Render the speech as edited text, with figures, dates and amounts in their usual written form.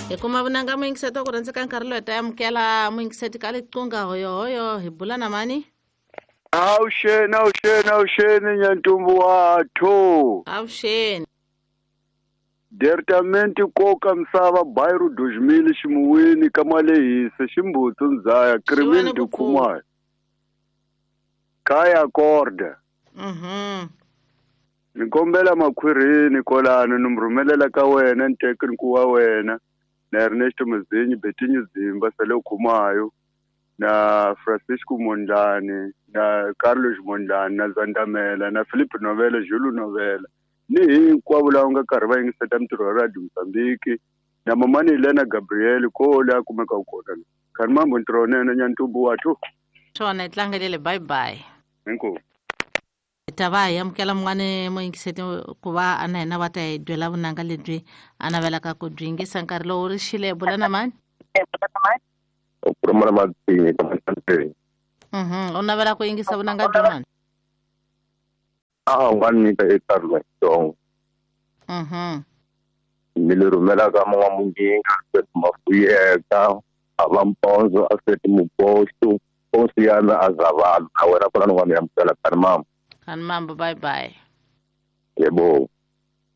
Hi kuma vunanga muyingiseti wa ku rhandzeka nkarhi lowu hi ta amukela muyingiseti ka liqunga hoyohoyo hi bula na mani. Avuxeni, avuxeni, avuxeni nyantumbu wathu. Avuxeni. Departamento koka misava bairro 2000 ximuwini ka Malehisa ximbutsu ndzaya Crimin Xiwani de ku pfuka. Khumalo. Kaya Korda. Ni kombela makhwirini kolano ni mi rhumelela ka wena ntekniku wa wena na Ernesto Mazinyi Betinho Zimba Sale Khumayo na Francisco Mondlane na Carlos Mondlane na Zandamela na Felipe Novela Julu Novela ni hinkwavo lava nga karhi va yingiseta mintirho ya Radio Mozambique na mamani Elena Gabriel ko le a kumekaka kona khani mambo ntirho wunene nyantumbu wathu. Swona hi tlangelele, bye bye. Inkomu. Hi ta va hi amukela mun'wani muyingiseti ku va a na hina va ta hi byela vunanga lebyi a navelaka ku byi yingisa nkarhi lowu ri xile. Bula na mani? U khuluma na Matsinyi ka Mahlanteni. U navela ku yingisa vunanga bya mani? A u nga nyika eka Xitsongo. Ni le rhumelaka Man'wamunginga Alfred Mafuyeka a va Mpondzo Alfred Mupoxo Ponsi ya mina a Zavala na wena kona ni nga mi amukela kani mama. Kani mambo, bye bye. Yebo.